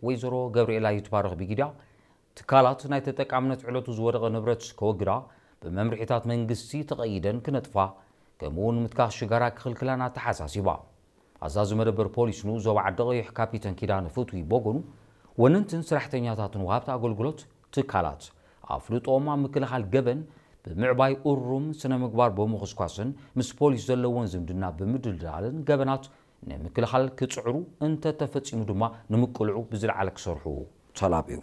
ወይዘሮ ገብርኤላ ይትባረኽ ቢጊዳ፣ ትካላት ናይ ተጠቃምነት ዕለቱ ዝወደቐ ንብረት ከወግዳ፣ ብመምርሒታት መንግስቲ ተቐይደን ክነጥፋ፣ ከምኡውን ምትካኽ ሽጋራ ክኽልክላን ኣተሓሳሲባ። ኣዛዚ መደበር ፖሊስ ንኡስ ዞባ ዓዲ ቀይሕ ካፒተን ኪዳነ ፍትዊ ቦጎኑ፣ ወነንትን ሰራሕተኛታትን ወሃብቲ ኣገልግሎት ትካላት ኣፍልጦኦም ኣብ ምክልኻል ገበን ብምዕባይ እሩም ስነ ምግባር ብምኹስኳስን ምስ ፖሊስ ዘለዎን ዝምድና ብምድልዳልን ገበናት ንምክልኻል ክጽዕሩ፣ እንተተፈጺሙ ድማ ንምቅልዑ ብዝለዓለ ክሰርሑ ተላብዩ።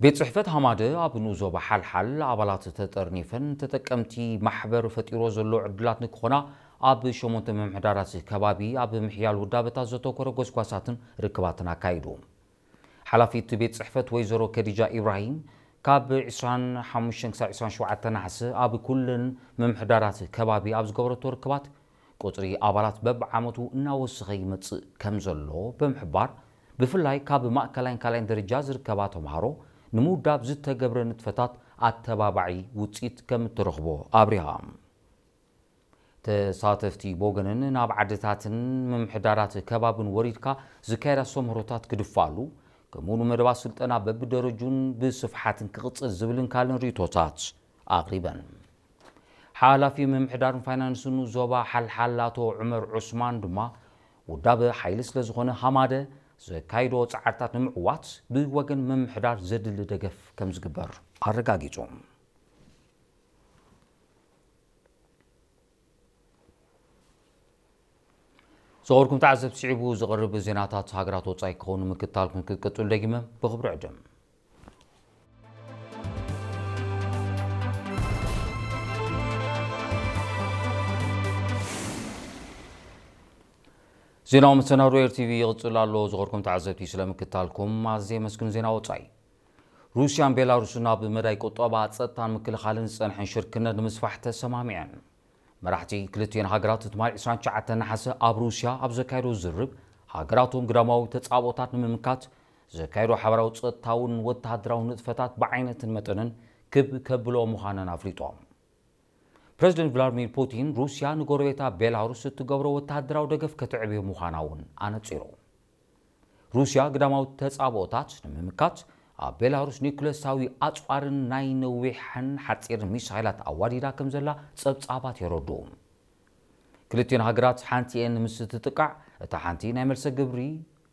ቤት ጽሕፈት ሃማደ ኣብ ንኡስ ዞባ ሓልሓል ኣባላት ተጠርኒፈን ተጠቀምቲ ማሕበር ፈጢሮ ዘሎ ዕድላት ንክኾና ኣብ ሸሞንተ ምምሕዳራት ከባቢ ኣብ ምሕያል ውዳበታት ዘተኮረ ጎስጓሳትን ርክባትን ኣካይዱ። ሓላፊት ቤት ጽሕፈት ወይዘሮ ከዲጃ ኢብራሂም ካብ ዕስራን ሓሙሽተን ክሳብ ዕስራን ሸውዓተን ነሓሰ ኣብ ኩለን ምምሕዳራት ከባቢ ኣብ ዝገበረቶ ርክባት ቁጽሪ ኣባላት በብዓመቱ እናወሰኸ ይመጽእ ከም ዘሎ ብምሕባር፣ ብፍላይ ካብ ማእከላይን ካልኣይን ደረጃ ዝርከባ ተምሃሮ ንምውዳብ ዝተገብረ ንጥፈታት ኣተባባዒ ውጽኢት ከም እትረኽቦ ኣብሪሃ። ተሳተፍቲ ብወገነን ናብ ዓድታትን ምምሕዳራት ከባብን ወሪድካ ዝካየድ ኣስተምህሮታት ክድፋሉ፣ ከምኡ ንመደባት ስልጠና በብደረጁን ብስፍሓትን ክቕጽል ዝብልን ካልእን ርእይቶታት ኣቕሪበን። ሓላፊ ምምሕዳርን ፋይናንስን ዞባ ሓልሓል ኣቶ ዑመር ዑስማን ድማ፣ ውዳበ ሓይሊ ስለ ዝኾነ ሃማደ ዘካይዶ ጻዕርታት ንምዕዋት ብወገን ምምሕዳር ዘድሊ ደገፍ ከም ዝግበር ኣረጋጊጹ። ዝኸበርኩም ተዓዘብቲ፣ ስዒቡ ዝቐርብ ዜናታት ሃገራት ወጻኢ ክኸውን ምክትታልኩም ክትቅጽሉ ደጊመ ብኽብሪ ዕድም። ዜናዊ መሰናዶ ኤር ቲቪ ይቕጽል ኣሎ። ዝኸበርኩም ተዓዘብቲ፣ ስለ ምክትታልኩም ኣዝየ የመስግን። ዜና ወጻኢ። ሩስያን ቤላሩስን ኣብ መዳይ ቁጠባ፣ ጸጥታን ምክልኻልን ዝጸንሐን ሽርክነት ንምስፋሕ ተሰማሚዐን። መራሕቲ ክልቲኤን ሃገራት ትማሊ ዕስራን ትሽዓተን ነሓሰ ኣብ ሩስያ ኣብ ዘካየዶ ዝርብ፣ ሃገራቶም ግዳማዊ ተጻብኦታት ንምምካት ዘካየዶ ሓበራዊ ጸጥታውን ወተሃደራዊ ንጥፈታት ብዓይነትን መጠንን ክብ ከብልኦ ምዃነን ኣፍሊጦም። ፕረዚደንት ቭላድሚር ፑቲን፣ ሩስያ ንጎረቤታ ቤላሩስ እትገብሮ ወተሃደራዊ ደገፍ ከተዕብዮ ምዃና እውን ኣነጺሩ። ሩስያ ግዳማዊ ተጻብኦታት ንምምካት ኣብ ቤላሩስ ኒኩለሳዊ ኣጽዋርን ናይ ነዊሕን ሓጺርን ሚሳይላት ኣዋዲዳ ከም ዘላ ጸብጻባት የረድኡ። ክልቲኤን ሃገራት ሓንቲኤን ምስ ትጥቃዕ፣ እታ ሓንቲ ናይ መልሰ ግብሪ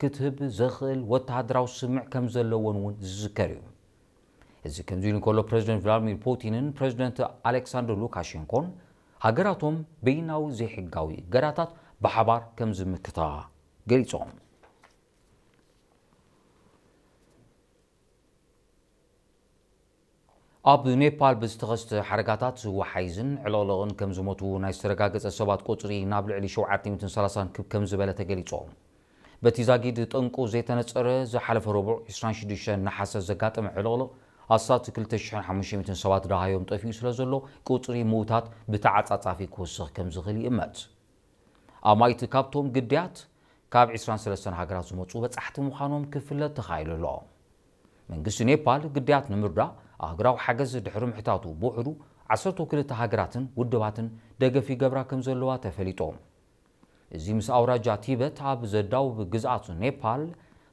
ክትህብ ዘኽእል ወተሃደራዊ ስምምዕ ከም ዘለወን እውን ዝዝከር እዩ። እዚ ከምዚ ኢሉ እንከሎ፣ ፕረዚደንት ቭላድሚር ፑቲንን ፕረዚደንት ኣሌክሳንደር ሉካሼንኮን ሃገራቶም በይናዊ ዘይሕጋዊ እገዳታት ብሓባር ከም ዝምክታ ገሊጾም። ኣብ ኔፓል ብዝተኸስተ ሓደጋታት ወሓይዝን ዕልቕልቕን ከም ዝሞቱ ናይ ዝተረጋገጸ ሰባት ቁጽሪ ናብ ልዕሊ ሸውዓተ ሚእትን ሰላሳን ክብ ከም ዝበለ ተገሊጹ። በቲ ዛጊድ ጠንቁ ዘይተነጸረ፣ ዝሓለፈ ረቡዕ ዕስራን ሽዱሽተን ነሓሰ ዘጋጠመ ዕልቕልቕ ኣስታት ክልተ ሽሕን ሓሙሽተ ሚእትን ሰባት ደሃዮም ጠፊኡ ስለ ዘሎ፣ ቁጽሪ ምዉታት ብተዓጻጻፊ ክወስኽ ከም ዝኽእል ይእመት። ኣማኢት ካብቶም ግዳያት ካብ ዕስራን ሰለስተን ሃገራት ዝመጹ በጻሕቲ ምዃኖም ክፍለጥ ተኻኢሉ ኣሎ። መንግስቲ ኔፓል ግዳያት ንምርዳእ ኣህጉራዊ ሓገዝ ድሕሪ ምሕታቱ፣ ብውሕዱ ዓሰርተ ክልተ ሃገራትን ውድባትን ደገፍ ይገብራ ከም ዘለዋ ተፈሊጡ። እዚ ምስ ኣውራጃ ቲበት ኣብ ዘዳውብ ግዝኣት ኔፓል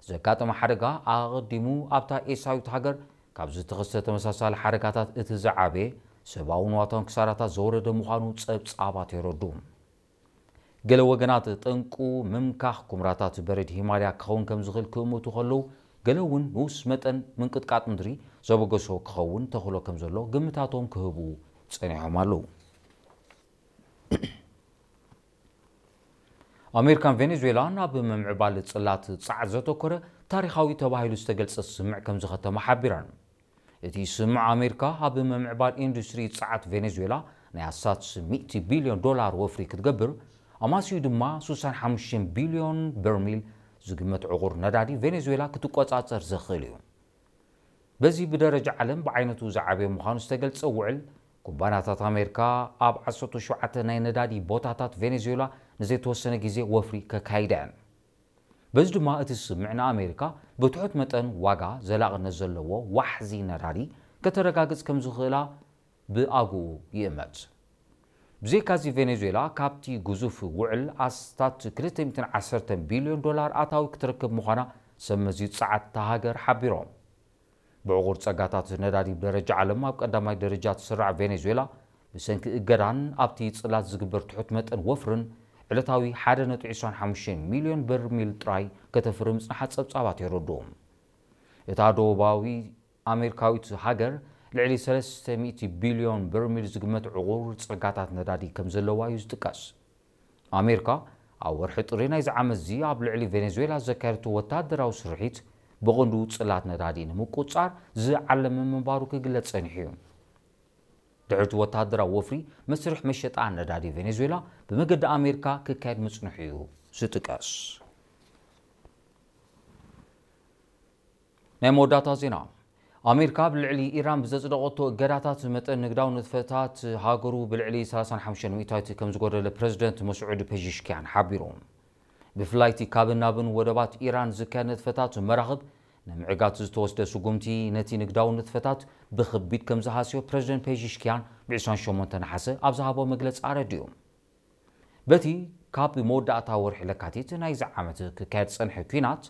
ዘጋጠመ ሓደጋ፣ ኣቐዲሙ ኣብታ ኤስያዊት ሃገር ካብ ዝተኸስተ ተመሳሳሊ ሓደጋታት እቲ ዝዓበየ፣ ሰብኣውን ንዋታውን ክሳራታት ዘወረደ ምዃኑ ጸብጻባት የረድኡ። ገለ ወገናት፣ ጠንቁ ምምካኽ ኩምራታት በረድ ሂማልያ ክኸውን ከም ዝኽእል ክእምቱ ከለዉ፣ ገለ እውን ንኡስ መጠን ምንቅጥቃጥ ምድሪ ዘበገሶ ክኸውን ተኽእሎ ከም ዘሎ ግምታቶም ክህቡ ጸኒሖም ኣለዉ። ኣሜሪካን ቬኔዙዌላን ኣብ ምምዕባል ጽላት ጸዓት ዘተኮረ ታሪኻዊ ተባሂሉ ዝተገልጸ ስምምዕ ከም ዝኸተማ ሓቢረን። እቲ ስምምዕ፣ ኣሜሪካ ኣብ ምምዕባል ኢንዱስትሪ ጸዓት ቬኔዙዌላ ናይ ኣስታት ሚእቲ ቢልዮን ዶላር ወፍሪ ክትገብር፣ ኣማስዩ ድማ ስሳን ሓሙሽተን ቢልዮን በርሚል ዝግመት ዕቑር ነዳዲ ቬኔዙዌላ ክትቆጻጸር ዘኽእል እዩ። በዚ ብደረጃ ዓለም ብዓይነቱ ዝዓበየ ምዃኑ ዝተገልጸ ውዕል፣ ኩባንያታት ኣሜሪካ ኣብ ዓሰርተ ሸውዓተ ናይ ነዳዲ ቦታታት ቬኔዙዌላ ንዘይተወሰነ ግዜ ወፍሪ ከካይዳ እየን። በዚ ድማ እቲ ስምምዕ ንኣሜሪካ ብትሑት መጠን ዋጋ ዘላቕነት ዘለዎ ዋሕዚ ነዳዲ ከተረጋግጽ ከም ዝኽእላ ብኣግኡ ይእመት። ብዘይካዚ፣ ቬኔዙዌላ ካብቲ ግዙፍ ውዕል ኣስታት ክልተ ሚእትን ዓሰርተ ቢልዮን ዶላር ኣታዊ ክትረክብ ምዃና ሰብ መዚ ጸዓት እታ ሃገር ሓቢሮም። ብዕቑር ጸጋታት ነዳዲ ብደረጃ ዓለም ኣብ ቀዳማይ ደረጃ ትስራዕ ቬኔዙዌላ፣ ብሰንኪ እገዳን ኣብቲ ጽላት ዝግበር ትሑት መጠን ወፍርን፣ ዕለታዊ ሓደ ነጥቢ ዕስራን ሓሙሽተን ሚልዮን በርሚል ጥራይ ከተፍሪ ምጽንሓ ጸብጻባት የረድኡ። እታ ደቡባዊ ኣሜሪካዊት ሃገር ልዕሊ ሰለስተ ሚእቲ ቢልዮን በርሚል ዝግመት ዕቑር ጸጋታት ነዳዲ ከም ዘለዋ እዩ ዝጥቀስ። ኣሜሪካ ኣብ ወርሒ ጥሪ ናይዚ ዓመት እዚ ኣብ ልዕሊ ቬኔዙዌላ ዘካየደቶ ወታደራዊ ስርሒት፣ ብቐንዱ ጽላት ነዳዲ ንምቁጽጻር ዝዓለመ ምንባሩ ክግለጽ ጸኒሑ እዩ። ድሕሪ እቲ ወታደራዊ ወፍሪ፣ መስርሕ መሸጣ ነዳዲ ቬኔዙዌላ ብመገዲ ኣሜሪካ ክካየድ ምጽንሑ እዩ ዝጥቀስ። ናይ መወዳእታ ዜና። ኣሜሪካ ኣብ ልዕሊ ኢራን ብዘጽደቐቶ እገዳታት፣ መጠን ንግዳዊ ንጥፈታት ሃገሩ ብልዕሊ ሰላሳን ሓሙሽተን ሚእታዊት ከም ዝጎደለ ፕረዚደንት መስዑድ ፔዚሽኪያን ሓቢሩ። ብፍላይ እቲ ካብን ናብን ወደባት ኢራን ዝካየድ ንጥፈታት መራኽብ ንምዕጋት ዝተወስደ ስጉምቲ፣ ነቲ ንግዳዊ ንጥፈታት ብኽቢድ ከም ዝሃስዮ ፕረዚደንት ፔዚሽኪያን ብ ዕስራን ሸሞንተን ነሓሰ ኣብ ዝሃቦ መግለጺ ኣረዲኡ። በቲ ካብ መወዳእታ ወርሒ ለካቲት ናይዚ ዓመት ክካየድ ዝጸንሐ ኲናት፣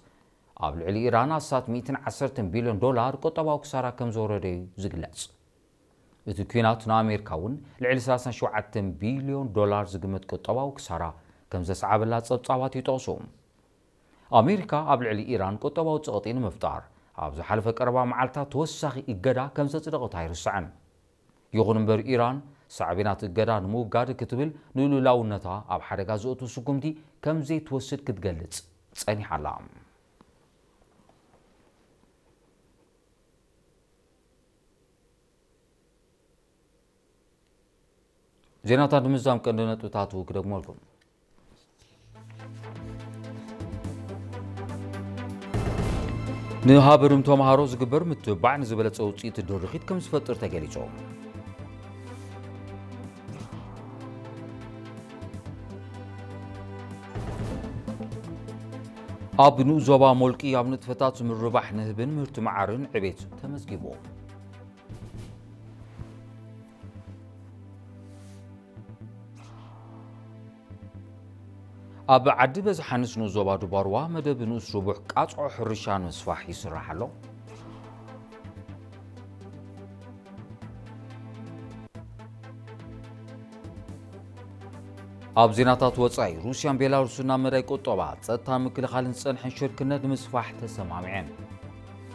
ኣብ ልዕሊ ኢራን ኣስታት ሚእትን ዓሰርተን ቢልዮን ዶላር ቁጠባዊ ክሳራ ከም ዘውረደ እዩ ዝግለጽ። እቲ ኲናት ንኣሜሪካ እውን ልዕሊ ሰላሳን ሸውዓተን ቢልዮን ዶላር ዝግመት ቁጠባዊ ክሳራ ከም ዘስዓበላ ጸብጻባት ይጠቕሱ። ኣሜሪካ ኣብ ልዕሊ ኢራን ቁጠባዊ ጸቕጢ ንምፍጣር፣ ኣብ ዝሓለፈ ቀረባ መዓልታት ተወሳኺ እገዳ ከም ዘጽደቐት ኣይርስዕን። ይኹን እምበር፣ ኢራን ሳዕቤናት እገዳ ንምውጋድ ክትብል ንልኡላውነታ ኣብ ሓደጋ ዘእቱ ስጉምቲ ከም ዘይትወስድ ክትገልጽ ጸኒሓ ኣላ። ዜናታት ንምዝዛም ቀንዲ ነጥብታቱ ክደግመልኩም። ንሃብርም ተምሃሮ ዝግበር ምትብባዕ ንዝበለጸ ውጽኢት ድርኺት ከም ዝፈጥር ተገሊጹ። ኣብ ንኡስ ዞባ ሞልቂ ኣብ ንጥፈታት ምርባሕ ንህብን ምህርቲ መዓርን ዕቤት ተመዝጊቡ። ኣብ ዓዲ በዝሓ ንኡስ ዞባ ዱባርዋ መደብ ንኡስ ርቡሕ ቃጽዖ ሕርሻ ንምስፋሕ ይስራሕ ኣሎ። ኣብ ዜናታት ወጻኢ፣ ሩስያን ቤላሩስን ኣብ መዳይ ቁጠባ፣ ጸጥታን ምክልኻልን ዝጸንሐን ሽርክነት ንምስፋሕ ተሰማሚዐን።